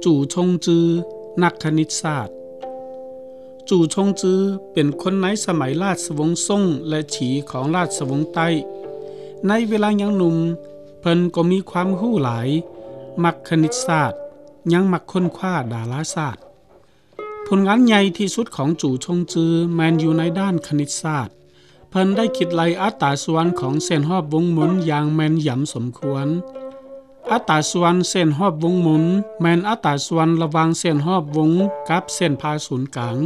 ຈູ່ຊົງຈື ນັກຄະນິດສາດ. ຈູ່ຊົງຈື ເປັນຄົນໃນສະໄໝລາຊະວົງຊົງ ແລະ ສີຂອງລາຊະວົງໃຕ້. ໃນເວລາຍັງໜຸ່ມ, ເພິ່ນກໍມີຄວາມຮູ້ຫຼາຍ, ມັກຄະນິດສາດ, ຍັງມັກຄົ້ນຄວ້າດາລາສາດ. ຜົນງານໃຫຍ່ທີ່ສຸດຂອງຈູ່ຊົງຈື ແມ່ນຢູ່ໃນດ້ານຄະນິດສາດ. ເພິ່ນໄດ້ຄິດໄລ່ອັດຕາສ່ວນຂອງເສັ້ນຮອບວົງມົນຢ່າງແມ່ນຢຳສົມຄວນ. ອັດຕາສ່ວນເສັ້ນຮອບວົງມົນ ແມ່ນອັດຕາສ່ວນລະຫວ່າງເສັ້ນຮອບວົງກັບເສັ້ນຜ່າສູນກາງ.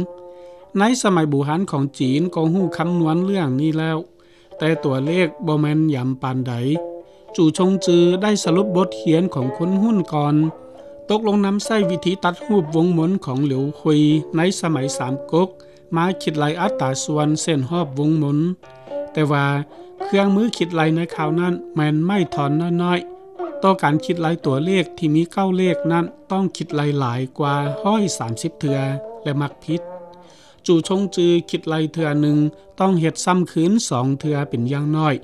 ໃນສະໄໝບູຮານຂອງຈີນກໍຮູ້ຄຳນວນເລື່ອງນີ້ແລ້ວ, ແຕ່ຕົວເລກບໍ່ແມ່ນຢຳປານໃດ. ຈູ່ຊົງຈືໄດ້ສະຫຼຸບບົດຮຽນຂອງຄົນຮຸ່ນກ່ອນ, ຕົກລົງນຳໃຊ້ວິທີຕັດຮູບວົງມົນຂອງຫຼຽວຄຸຍໃນສະໄໝສາມກົກ ມາຄິດໄລ່ອັດຕາສ່ວນເສັ້ນຮອບວົງມົນ. ແຕ່ວ່າເຄື່ອງມືຄິດໄລ່ໃນຄາວນັ້ນແມ່ນໄມ້ທ່ອນນ້ອຍໆ. ຕໍ່ການຄິດໄລ່ຕົວເລກທີ່ມີເກົ້າເລກນັ້ນ ຕ້ອງຄິດໄລ່ຫຼາຍກວ່າຮ້ອຍສາມສິບເທື່ອ ແລະ ມັກຜິດ. ຈູ່ຊົງຈືຄິດໄລ່ເທື່ອໜຶ່ງຕ້ອງເຮັດຊ້ຳຄືນສອງເທື່ອເປັນຢ່າງໜ້ອຍ,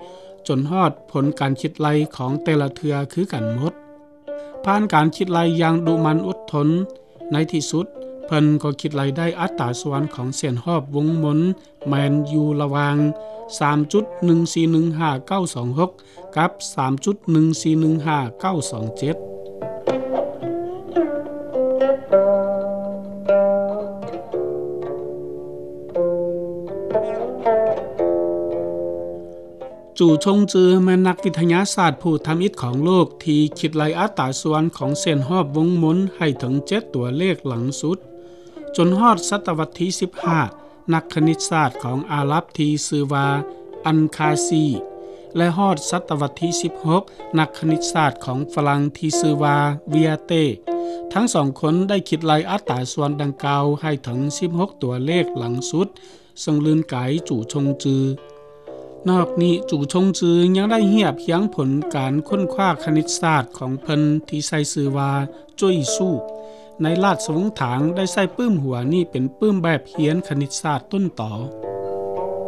ຈົນຮອດຜົນການຄິດໄລ່ຂອງແຕ່ລະເທື່ອຄືກັນໝົດ. ຜ່ານການຄິດໄລ່ຢ່າງດຸໝັ່ນອົດທົນ, ໃນທີ່ສຸດເພິ່ນກໍຄິດໄລ່ໄດ້ອັດຕາສ່ວນຂອງເສັ້ນຮອບວົງມົນ ແມ່ນຢູ່ລະຫວ່າງສາມຈຸດໜຶ່ງສີ່ໜຶ່ງຫ້າເກົ້າສອງຫົກ ກັບສາມຈຸດໜຶ່ງສີ່ໜຶ່ງຫ້າເກົ້າສອງເຈັດ. ຈູ່ຊົງຈືແມ່ນນັກວິທະຍາສາດຜູ້ທຳອິດຂອງໂລກທີ່ຄິດໄລ່ອັດຕາສ່ວນຂອງເສັ້ນຮອບວົງມົນໃຫ້ເຖິງເຈັດຕົວເລກຫຼັງສຸດ. ຈົນຮອດສະຕະວັດທີສິບຫ້າ, ນັກຄະນິດສາດຂອງອາຣັບທີ່ຊື່ວ່າອັນຄາຊີ ແລະ ຮອດສະຕະວັດທີສິບຫົກ, ນັກຄະນິດສາດຂອງຝຣັ່ງທີ່ຊື່ວ່າເວຍເຕ ທັງສອງຄົນໄດ້ຄິດໄລ່ອັດຕາສ່ວນດັ່ງກ່າວໃຫ້ເຖິງສິບຫົກຕົວເລກຫຼັງສຸດ, ເຊິ່ງລື່ນກາຍຈູ່ຊົງຈື. ນອກນີ້, ຈູ່ຊົງຈືຍັງໄດ້ຮຽບຮຽງຜົນການຄົ້ນຄວ້າຄະນິດສາດຂອງເພິ່ນທີ່ໃຊ້ຊື່ວ່າ ຈຸ້ຍຊູ້ ໃນລາຊະວົງຖາງໄດ້ໃຊ້ປຶ້ມຫົວນີ້ເປັນປຶ້ມແບບຮຽນຄະນິດສາດຕົ້ນຕໍ.